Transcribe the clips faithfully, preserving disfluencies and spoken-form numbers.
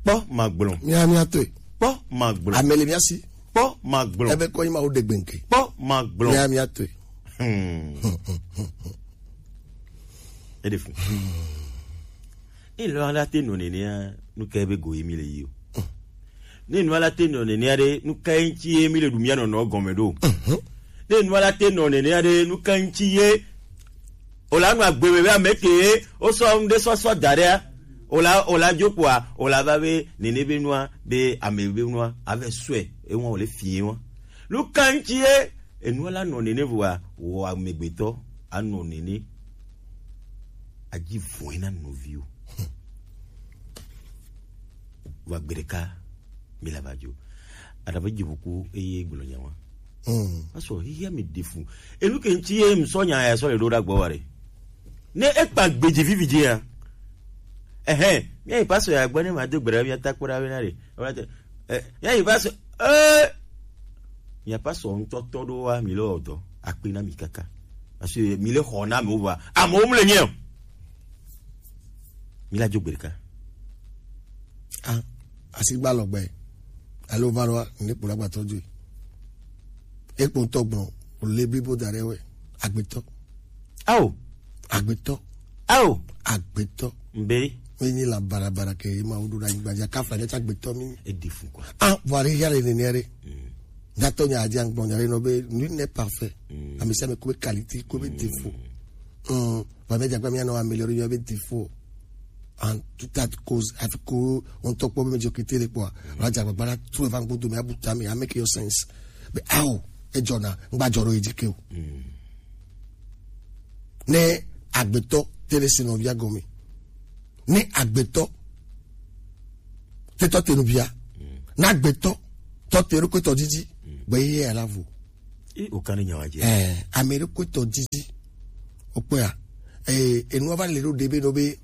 Kpɔ magblɔ. Mia mia to. Kpɔ magblɔ. Amele mia si. Kpɔ magblɔ. Ebe kɔ ima wo degbe nke. Kpɔ magblɔ. Mia mia to. Hmm. Eɖe fu. Ne nua la te nɔ nenea, nu ka be go ye mi le yi o? Ne nua la te nɔ nenea ɖe, nu ka ŋuti ye mi le ɖu mia nɔnɔ gɔme ɖo? Ne nua la te nɔ nenea ɖe, nu ka ŋuti ye o la nɔ agbe me be ame ke ye o sɔ ŋɖe sɔsɔ da ɖea, o la o la dzo kpoa, o la va be nene be nua be ame be nua ave sɔe eŋua o le fi wa. Nu ka ŋuti ye enua la nɔ nene vɔa, wɔ amegbetɔ anɔ nene adzi vɔe na nɔviwo. Vɔ agbe ɖeka mi la va dzo. Aɖa va dzi ʋuku eye gblɔ nya wa. Mm. Pasɔ hihia mi ɖe fu. Enu ke ŋuti ye ŋsɔ nya ya sɔ le ɖo ɖa gbɔ wa ɖe. Ne ekpa gbedzi vivi dzi ya. Ehe, mi ayi pasɔ ya gbɔ ne ma do gbe ɖa mi ata kpɔ ɖa we na ɖe. Ɔla te, eh, mi ayi pasɔ, eh, mi pasɔ ŋutɔ tɔ ɖo wa mi le ɔdɔ akpe na mi kaka. Parce que mi le xɔ na amewo va. Amewo mu le nyɛ o. Mi la dzo gbe ɖeka. Ah, asigba lɔgbe. Alo va ɖoa, ne kpo la gbatɔ dzoe. Ekpo ŋutɔ gbɔn, o le blibo da ɖe wɛ. Agbetɔ. Ao. Agbetɔ. Ao. Agbetɔ. Mbe. Menyi la barabara ke ma wo ɖo ɖa nyigba dzi, kafla ɖe tsa agbetɔ mi. Eɖi fu kwa. Ah, vɔ ale ya le nene ɖe. Mm. Nyatɔ nya adzi agbɔn nya ɖe nɔ be, nul n'est parfait. Mm. Ame sia ame ko be qualité, ko be défaut. Mm. Vɔ mi dze agbagba mi anɔ améliorer mi be défaut. En tout état de cause, afi ko ŋutɔ kpɔ be mi dzo kete ɖe kpɔa, la dze agbagba la trɔ va ŋgbo dome abu tame, a make your sense. Be ao, edzɔna, ŋgba dzɔ ɖo edzi ke o. Mm. Ne agbetɔ te ɖe si nɔvia gɔme. Ne agbetɔ te tɔ te nɔvia. Mm. Ne agbetɔ tɔ te ɖo kpetɔ didi. Mm. Be ye ya la vo. E o kan ne nyawa dzi. Eh, ame ɖe kpetɔ didi. O kpɔa. Eh, enua va le ɖo ɖe be ɖo be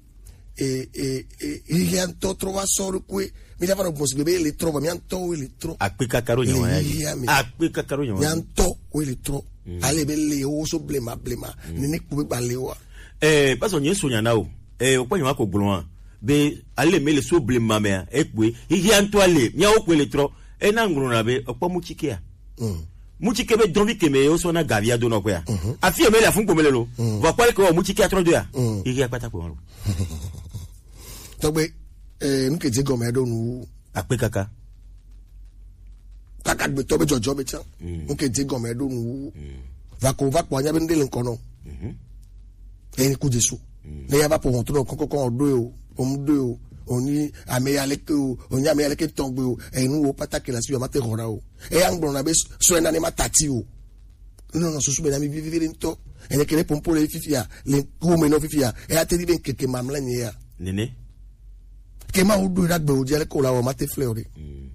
e, e, e, hihia ŋutɔ trɔ va sɔ ɖokui. Mi dza va nɔ gbɔn sigbe be ele trɔ, vɔ mia ŋutɔwo ele trɔ. Akpe kaka ɖo nyawa ya dzi. Hihia me. Akpe kaka ɖo nyawa ya dzi. Mia ŋutɔwo ele trɔ. Mm. Ale be le wo so blema blema. Mm. Nene kpo be gba le wa. Eh, pasɔ nye so nya na o. Eh, o kpɔ nyawa ko gblɔ wa. Be ale me le so blema mea, ekpoe. Hihia ŋutɔ ale, miawo kpoe le trɔ. Ena ŋgblɔna be, ekpɔ mutikea. Mm. Mutike be dɔnvi keme ye wosɔ na gavia do nɔ kpea. Mhm. Afi eme le afun kpome le lo. Mm. Vɔ kpali ke wɔ mutike atrɔ do ya. Mm. Iri akpata kpoma lo. Tɔgbe, eh, nu ke dze gɔme ɖo nu. Akpe kaka. Kaka gbetɔ be dzɔdzɔ be tsã. Mm. Nu ke dze gɔme ɖo nu. Mm. Va ko va kpɔ anya be nu ɖe le ŋkɔ nɔ. Mhm. Eyi ku Jesu. Mm. Ne ya va ƒo ʋɔtru ɖe kɔkɔkɔ o ɖo o, o mu ɖo o, o nyi ame ya leke o, o nyi ame ya leke tɔgbe o, eyi nu wo pata ke le asi o, ma te xɔ ɖa o. Eya ŋgblɔ na be srɔ̃ na ne ma tati o. Ne nɔ susu be na mi vivi vivi ŋutɔ. Enye ke ne pompo le fifia, le ku me nɔ fifia, eya te di be keke mamlɛ nye ya. Nene. Ke ma wo ɖo ɖa gbe o di ale ko la wo ma te flɛ o de. Mm.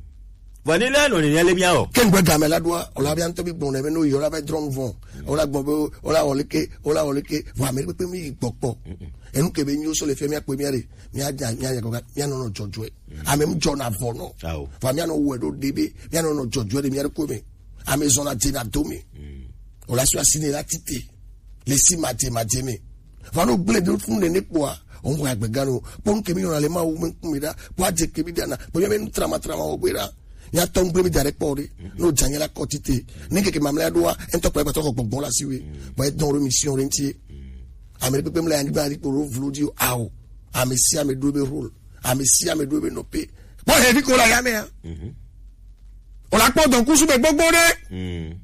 Vɔ ne le nɔ nene le mia o. Ke ŋgbe game la ɖoa, o la bia ŋutɔ bi gbɔn ne be no yɔ la be drɔn vɔn. Mm. O la gbɔn be o la wɔ leke, o la wɔ leke, vɔ ame kpekpe mi yi gbɔkpɔ. Mm-mm. Enu ke be nyo so le fia mia kpe mia de, mia dza, mia nya kɔka, mia nɔ nɔ dzɔdzɔe. Mm. Ame mu dzɔ na vɔ nɔ. Ao. Vɔ mia nɔ wɔ ɖo de be, mia nɔ nɔ dzɔdzɔe de mia de ko me. Ame zɔna dze na do me. Mm. O la so asi ne la tite. Le si ma dze ma dze me. Vɔ no gblẽ ɖo fún nene kpɔa, o ŋgɔ agbe gã no. Kpɔ nu ke mi yɔna le Mawu me ŋkume ɖa, kpɔ adze ke mi ɖana, kpɔ mi be nu trama trama wɔ gbe ɖa. Mia tɔ ŋgble mi da ɖe kpɔ ɖe. No dza nye la kɔ tite. Ne keke mamlɛ ɖoa, ŋutɔ kpɔ egbetɔ xɔ gbɔgbɔ la si we. Bɔ edɔn ɖo mission ɖe ŋuti. Ame ɖe kpekpe mle anyigba ɖi kpo ɖo vlo dzi o, ao. Ame sia ame ɖo be rôle. Ame sia ame ɖo be nɔƒe. Kpɔ hevi ko la ya mea. Mhm. O la kpɔ dɔn kusu be gbogbo ɖe. Mm.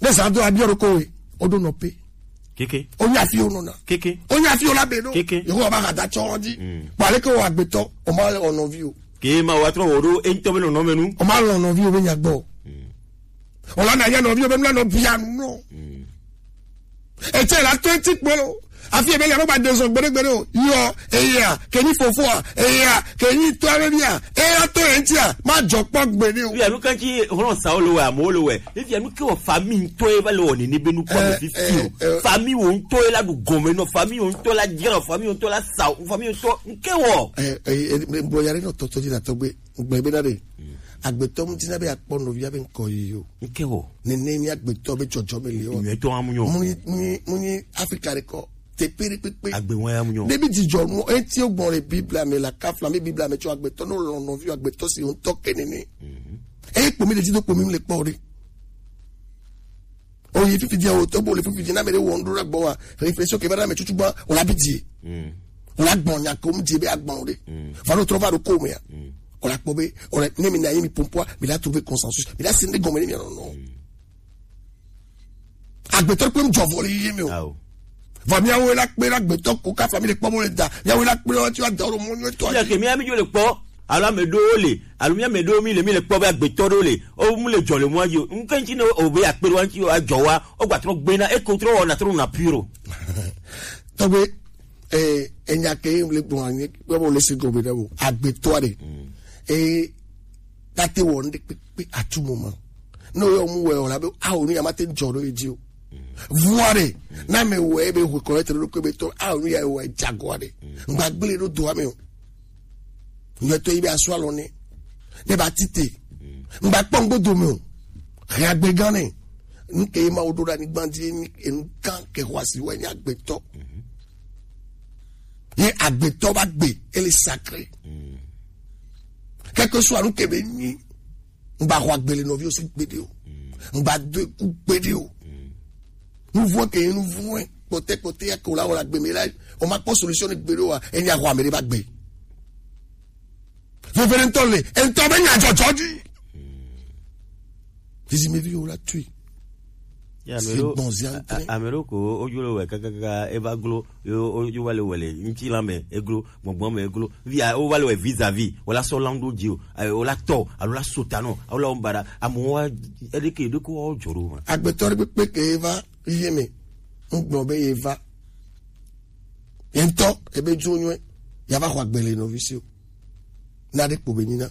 Ne zã do abiɔ ɖo kowe, o ɖo nɔƒe. Keke. O nya fi o nɔna. Keke. O nya fi o la be ɖo. Keke. Yehowa ba ha da tsɔ dzi. Mm. Kpɔ ale ke o agbetɔ, o ma le o nɔvi o. Ke ma wa trɔ wo ɖo, e ŋutɔ be nɔnɔme nu. O ma lɔ nɔvi o be nya gbɔ. Mm. O la na ya nɔvi o be nu la nɔ bia nu nɔ. Mm. Etsɛ la to eti kpolo. Afi ebe le alo ba dezɔn gbeɖegbeɖe o. Yɔ, eya, ke nyi fofoa, eya, ke nyi tɔa be bia, eya to ye ŋutia, ma dzɔ kpɔ gbeɖe o. Fia nu kan tsi hlɔn sawo le wɛ, amewo le wɛ. Fia nu ke wɔ famille ŋutɔ ye va le wɔ nene be nu kpɔ me fifi o. Eh, eh, eh. Famille wo ŋutɔ ye la ɖu gɔme nɔ, famille wo ŋutɔ la dzra, famille wo ŋutɔ la sa, famille wo ŋutɔ ŋke wɔ. Eh, eh, eh, eh, bo ya ɖe nɔ tɔtɔ dzi na tɔgbe. Gblɔe be na ɖe, agbetɔ ŋuti na be akpɔ nɔvia be ŋkɔ yiyi o. Ŋke wɔ. Nene mi agbetɔ be dzɔdzɔ me le o. Nyuie tɔ amu nyɔ. Mu nyi, mu nyi, mu nyi Afrika ɖe kɔ. Te kpe ɖe kpekpe. Agbe ŋua ya mu nyɔ. Ne mi dzidzɔ nu, eti wo gbɔn le Biblia me la kafla mi Biblia me tsɔ agbetɔ no lɔn nɔvi agbetɔ si ŋutɔ ke nene. Eye kpo mi le dzi do kpo mi le kpɔ ɖe. O yi fifi dia o to bo le fifi dia na me ɖe wo ŋɖo ɖe gbɔ wa. Réflexion ke va ɖe ame tutu gba o la bi die. O la gbɔn nya ko mu die be agbɔn ɖe. Va ɖo trɔ va ɖo ko me ya. O la kpɔ be o la ne mi na yi mi pompoa mi la trouver consensus. Mi la sende gɔme ne mi nɔ nɔ. Agbetɔ kpe ŋdzɔ vɔ le yiyi me o. Ao. Vɔ miawo la kpe la agbetɔ ko ka famille kpɔ mo le da. Miawo la kpe la ti wa da o mɔ nyɔ to. Ya ke mi ami jo le kpɔ. Alo ame ɖewo le, alo mi ame ɖewo mi le, mi le kpɔ be agbetɔ ɖewo le. O mu le dzɔ le mɔa dzi o. Ŋke ŋtsi ne o be akpe ɖewo ŋtsi o adzɔ wa, o gba trɔ gbe na, e ko trɔ wɔ na trɔ na pure o. Tɔgbe, eh, enya ke le gbɔ anyi, kpe mo le si gɔme ɖe o. Agbetɔ ɖe. Eh, tate wɔ ŋɖe kpekpe atu mo ma. Ne o yɔ mu wɛ o la be, awo nu ya ma te dzɔ ɖo ye dzi o. Vua ɖe, na me wɛ be hwe kɔlɛ te ɖo kpe be tɔ, awo nu ya wɛ dzagoa ɖe. Ŋgba gble ɖo doa me o. Nyuietɔ yi be asu alɔ nɛ. Ne ba tite. Ŋgba kpɔ ŋgbo dome o. Hɛn agbe gã nɛ. Nu ke ye ma wo ɖo ɖe anyigba dzi ni enu gã ke xɔ asi wɛ nye agbetɔ. Ye agbetɔ ba gbe, ele sacré. Quelque soit nu ke be nyi. Ŋgba xɔ agbe le nɔviwo si gbeɖe o. Ŋgba do eku gbeɖe o. Nuvɔ ke ye nuvɔ kpɔtɛ kpɔtɛ ya ke o la wɔ la gbe me la, o ma kpɔ solution ne gbeɖe o wa, enya xɔ ame ɖe ba gbe. Vevere ŋutɔ le, ŋutɔ be nya dzɔdzɔ dzi. Zizi mi vi o la tui. Ya, ame ɖewo, gbɔn zi a-, antre. A-, ame ɖewo ko wodzo le wɛ kakaka eva glo, yo, yo, yo va le wɛ le ŋutilã me eglo, gbɔngbɔn me eglo. Via, wo va le wɛ vis-à-vis, wo la sɔ lan ɖo dzi o, eh, wo la tɔ, alo la so ta nɔ, alo la wo ba ɖa, amewo wa, eɖe ke, eɖe ko wa wo dzɔ ɖo ma. Agbetɔ ɖe kpekpe ke va, ye me, ŋgblɔ be ye va. Ye ŋutɔ, ebe dzo nyuie, ya va xɔ agbe le nɔvi si o. Na ɖe kpo be nyina.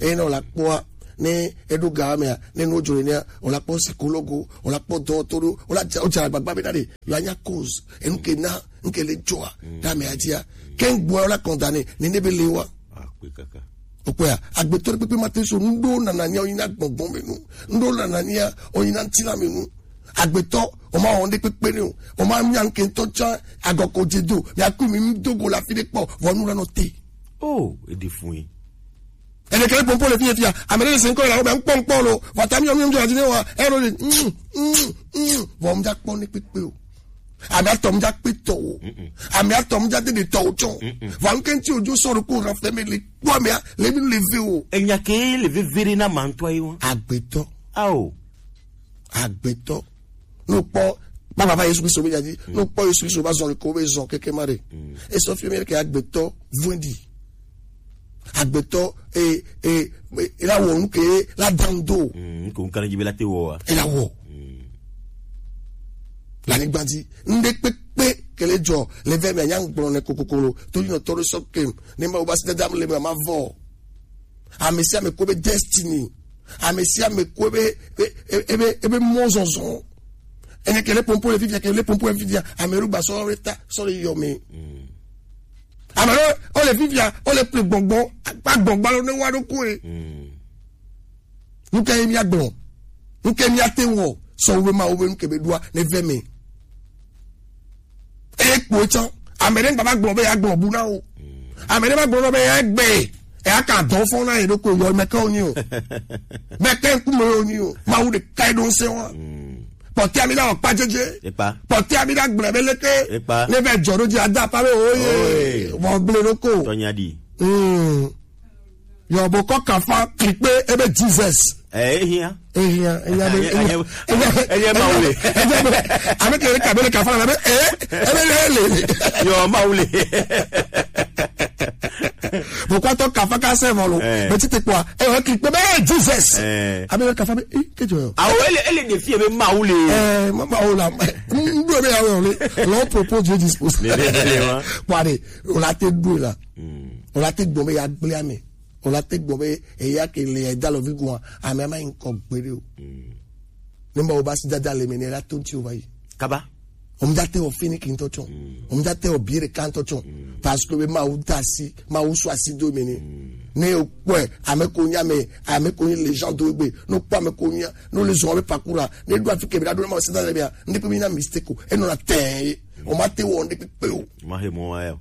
Eye ne wòle akpɔa, ne eɖo ga mea, ne nuwo dzro nea, wòle akpɔ psikologo, wòle akpɔ dɔwɔtɔ ɖo, wòle adza, wodze agbagba be na ɖe, yewoanya cause, enu ke na, nu ke le dzɔa, ɖe amea dzia. Ke ŋgbɔa wòle condamné, ne ne be le wa. Akpe kaka. Okpɔa, agbetɔ ɖe kpekpe ma te so, nu ɖo nanania wònyina gbɔngbɔn me nu, nu ɖo nanania wònyina ŋutilã me nu. Agbetɔ, o ma wɔ ŋɖe kpekpe ne o. O ma nya ŋke ŋutɔ tsã agɔ ko dze do. Mi aku mi ŋu do go le afi ɖe kpɔ. Vɔ nu la nɔ te. Oh, eɖe fun ye. Ele kele pompo le fi ye fia. Ame ɖe le se ŋkɔ le la wo be ŋkpɔ ŋkpɔ lo. Vɔ ta mi yɔ mi yɔ mi yɔ adi ne wa. Ero le. Mm, mm, mm. Vɔ mu dza kpɔ ne kpekpe o. Ame atɔ mu dza kpe tɔ o. Ame atɔ mu dza de de tɔ o tsɔ. Vɔ ŋke ŋti o dzo sɔ ɖo ko rafɛ me le kpɔ amea le mi le ve o. Enya ke le veve ɖe na ma ŋutɔ ye wa. Agbetɔ. Ao. Agbetɔ. Ne wokpɔ, ba baba Yesu Kristo be nya dzi. Ne wokpɔ Yesu Kristo ba zɔn le ko be zɔn keke ma ɖe. Esɔ fi mi ke agbetɔ vɔndi. Agbetɔ, e, e, e, la wɔ nu ke la dan do. Mm, ko nkan dzi be la te wɔ wa. E la wɔ. La ni gbandi. Ŋɖe kpekpe ke le dzɔ le ve me nya ŋgblɔ ne kokokolo. To yi nɔ tɔ ɖe sɔ kem. Ne ma wo ba si dada le me ma vɔ. Ame sia ame ko be destiny. Ame sia ame ko be, be, be, be, be mɔzɔzɔ. Ene ke le pompo le fifia, ke le pompo le fifia. Ame ɖo gba sɔ le ta, sɔ le yɔ me. Ame ɖo, o le fifia, o le ple gbɔngbɔn, akpa gbɔngbɔn lo ne wa ɖo koe. Nuke ye mia gblɔ? Nuke mia te wɔ? Sɔ wo be ma wo be nuke be ɖoa ne ve me. Eye kpo tsã, ame ɖe ŋgba va gblɔ be yeagblɔ bu na wo. Ame ɖe va gblɔ na wo be egbe, eya ka dɔ fɔ na ye ɖokui yɔ meke wonyi o. Meke ŋkume wonyi o. Mawu ɖeka ye ɖo ŋusẽ wa. Kpɔtɔa mi na wɔ kpa dzedze. Ekpa. Kpɔtɔa mi na gblɔ be leke. Ekpa. Ne va dzɔ ɖo dzi ada afa be oye. Oye. Vɔ gblẽ ɖo ko. Tɔnya ɖi. Mm. Yɔ bo kɔ kafa klikpe ebe Jesus. Eh, ehia. Ehia, ehia be, ehia, ehia, ehia, ehia, ehia, Mawu le. Ehia be, ame ke le kabe le kafa na be, eh, ebe le le. Yɔ, Mawu le. Bo kɔ tɔ kafa ka se vɔ lo. Eh. Be tite kpɔa, eh, klikpe be, eh, Jesus. Eh. Ame le kafa be, eh, ke jɔ. Awo, ele, ele de fie be Mawu le. Eh, ma, Mawu la. N do be awo le. L'on propose, Dieu dispose. Le, le, le, le, wa. Kpɔa ɖe, o la te do la. O la te gbɔ be ya gblẽ ame. O la te gbɔ be eya ke le ya da lɔvi gua, ame ama yi ŋkɔ gbeɖe o. Ne ma wo ba si dada le me ne la to ŋti o va yi. Kaba. O mu da te o fini ki ŋtɔ tsɔ. O mu da te o bi ɖeka ŋtɔ tsɔ. Parce que be Mawu da asi, Mawu sɔ asi do me ne. Ne o kpɔe, ame ko nya me, ame ko nyi les gens do gbe. No kpɔ ame ko nya, no le zɔn be parcours la. Ne do afi ke be da do na ma si dada le be ya. Ne pe mi na mistake o. E nɔ na tɛ. O ma te wɔ nde kpekpe o. Ma he mo wa ya.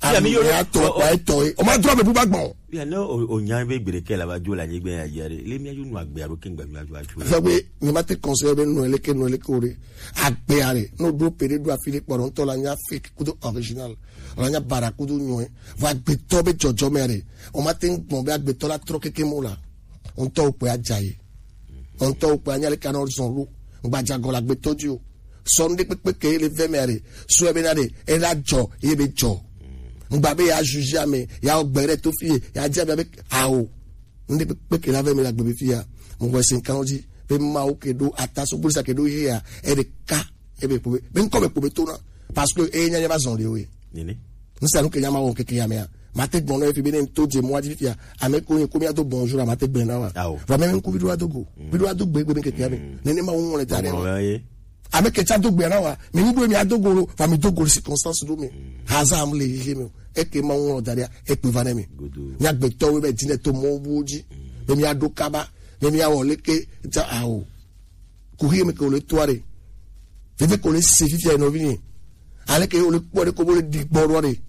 Ami yo ya to pa eto e. O ma dro be bu ba gbon. Ya no o nya be gbere ke la ba jo la ni gbe ya ya re. Le mi ayo nu agbe aro ke ngba mi ajo ajo. Fa be ni ma te conseil be no ele ke no ele ke ore. Agbe are. No do pere do afile poro nto la nya fake kudo original. La nya bara kudo nyo e. Va gbe to be jojo mere. O ma te ngbon be agbe to la tro keke mo la. Ŋutɔ wokpɔe adza yi. Ŋutɔ wokpɔe anya leke anɔ zɔn ɖo. Ŋgbadza gɔ le agbetɔ dzi o. Sɔ nu ɖe kpekpe ke le vɛ mɛ ɖe. Sɔ ebe na ɖe ela dzɔ ye be dzɔ. Ŋgba be ya juge ame ya wɔ gbe ɖe to fi ye ya dze ame be awo. Nu ɖe kpekpe ke la vɛ mɛ le agbe be fi ya. Mo wɔ se nkan dzi be Mawu ke ɖo ata so gbɔsa ke ɖo ye ya e ɖe ka. Ebe kpo be be ŋkɔ be kpo be to na. Parce que e nya nya va zɔn ɖe o ye. Nene. Ŋsa nu ke nya ma wɔ keke ya mɛ ya. Ma te gbɔn na efi be ne to dze mɔ adzi fia. Ame ko nye ko mi ado bonjour ma te gbɛ na wa. Awo. Va me ŋku bi do ado go. Bi do ado gbe gbe mi keke ya mɛ. Nene ma wɔ le da ɖe. Ame ke tsa do gbe na wa. Mi ni do mi ado go lo. Va mi do go circonstance do mi. Hasard am le yi mi. E ke ma wɔ da ɖe. E pe va ne mi. Nya gbetɔ we be dine to mɔ bu dzi. Be mi ado kaba. Be mi awɔ leke tsa awo. Kuxi me ke wòle toa ɖe. Veve ke wòle se fifia nɔvi nɛ. Ale ke wòle kpɔ ɖe ko bo le ɖi gbɔ ɖoa ɖe.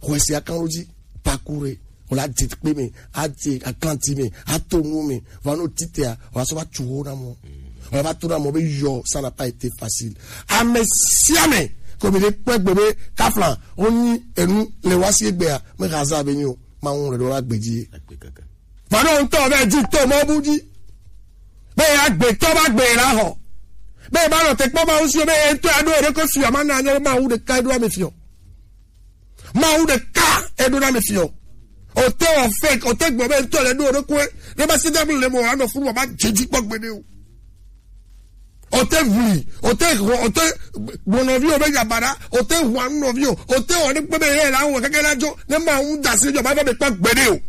Xɔe se akan ɖo dzi. Paku ɖe. Wòle adze kpe me, adze aklanti me, ato nu me. Va no titea, wòle sɔ va tu wo na mɔ. Wòle va to na mɔ be yɔ, ça n'a pas été facile. Ame sia ame, ko mi ɖe kpɔ egbe be kafla, wonyi enu le wa si egbea, me haza be nyo. Ma ŋu le ɖo la gbe dzi. Vano ŋutɔ vɛ dzi to mɔ bu dzi. Be agbetɔ ba gbe la xɔ. Be ba nɔ te kpɔ Mawu si o be ŋutɔ ya ɖo eɖe ko fiɔ ma na nye Mawu ɖeka eɖo ame fiɔ. Mawu ɖeka eɖo na ame fiɔ. O te wɔ fake, o te gbɔ be ŋutɔ le ɖo eɖe ko. Ne ba si da le mo anɔ funu ba dzi dzi kpɔ gbe ne o. O te vli, o te xɔ, o te gbɔ nɔvi o be yabara, o te hwa nɔvi o, o te wɔ ne kpe be ye la wɔ keke la dzo, ne ma ŋu da si dzo ba be kpa gbe ne o.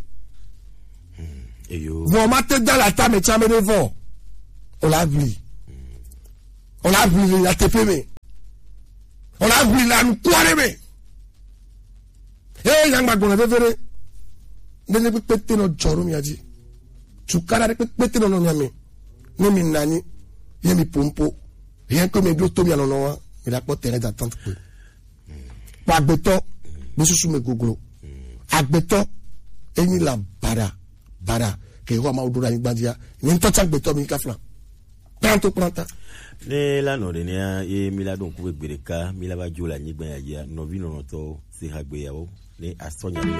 Eyo. Vɔ ma te da la ta me tsa me ɖe vɔ. O la vli. O la vli le nyateƒe me. O la vli le anukua ɖe me. Eye nyagba gbɔna veve ɖe. Ne ne kpekpe te nɔ dzɔ ɖo mia dzi. Tukaɖa ɖe kpekpe te nɔ nɔ mia me. Ne mi nanyi. Ye mi pompo. Rien que mi ɖo to mia nɔnɔ wa. Mi ɖa kpɔ terrain d'attente kpe. Kpɔ agbetɔ be susu me goglo. Agbetɔ enyi la baɖa baɖa ke Yehowa Mawu ɖo ɖe anyigba dzia. Nye ŋutɔ tsa agbetɔ mi kafla. Kplanto kplanta. Ne la nɔ ɖe nea ye mi la ɖo ŋku be gbe ɖeka mi la va dzo le anyigba ya dzia nɔvi nɔnɔtɔ se ha gbe yawo ne asɔ nya le.